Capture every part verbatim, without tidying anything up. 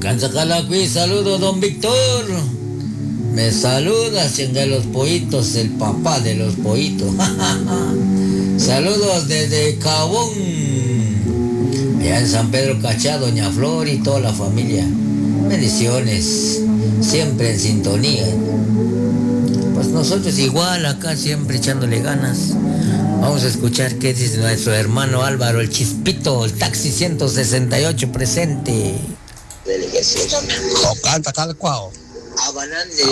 Canzacalacuí, saludo, don Víctor. Me saluda, chinga los pollitos, el papá de los pollitos. Saludos desde Cabón, allá en San Pedro Cachá, doña Flor y toda la familia. Bendiciones, siempre en sintonía. Pues nosotros igual acá, siempre echándole ganas. Vamos a escuchar qué dice nuestro hermano Álvaro, el Chispito, el taxi ciento sesenta y ocho presente. Canta calcuao.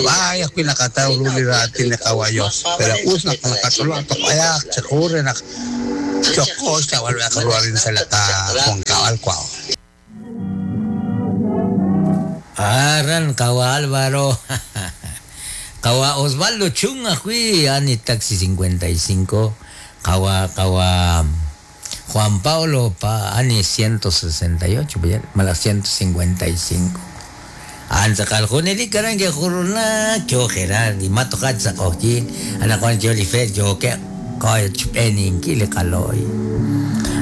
Vaya, cuina cata ululira tiene caballo, pero usna con la catolo topaya se ocurre na chocosta vuelve a correr en selata con cabal cuao. Arran kawa Álvaro. Kawa Osvaldo Chunga hui ani taxi cincuenta y cinco. Kawa kawa Juan Pablo pa ani ciento sesenta y ocho, mala ciento cincuenta y cinco. Anza caljoneli karangue juruna yo Gerard y mato hatsa cojín ana Juan Jolifer yo que coy chupenin kile caloy.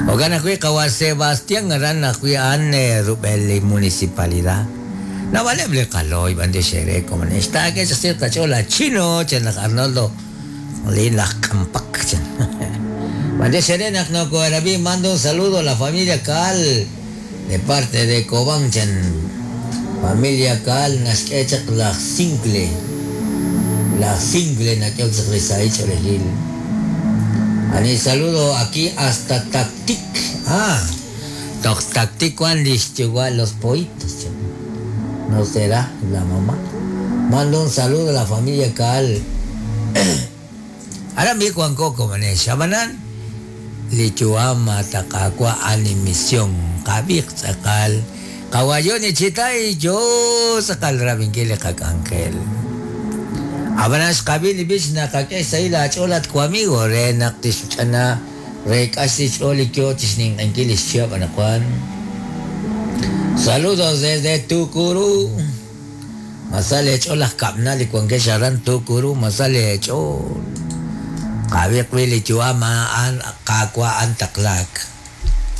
Ogana hui kawa Sebastián arana hui ane rubeli municipalidad. No vale ble caloy bande shere como está que se cierta chola chino chen Arnoldo lin la campak chen. Bande shere nak no coarabi mando un saludo a la familia Cal de parte de Cobán chen. Familia Cal nasquechak la single. La single na que se Ani saludo aquí hasta Tactic. Ah, Tactic cuando igual los pollitos. No será la mamá. Mando un saludo a la familia Cal. Ahora mi Juan Coco mané shabanan. Lichuama takakwa animisión kabik sakal. Kawayoni chitay yo sakal rabinkile kakangkel. Abanas kabili bis na kakesa ila cholat ko amigo re naktis chana re kasi choli kyo tisning angkilis siya panakwan. Saludos desde Tucurú. Masale cholas kapnali kwan ke sharan Tucurú masale chol. Kabik wili chuama an kakwa antaklak.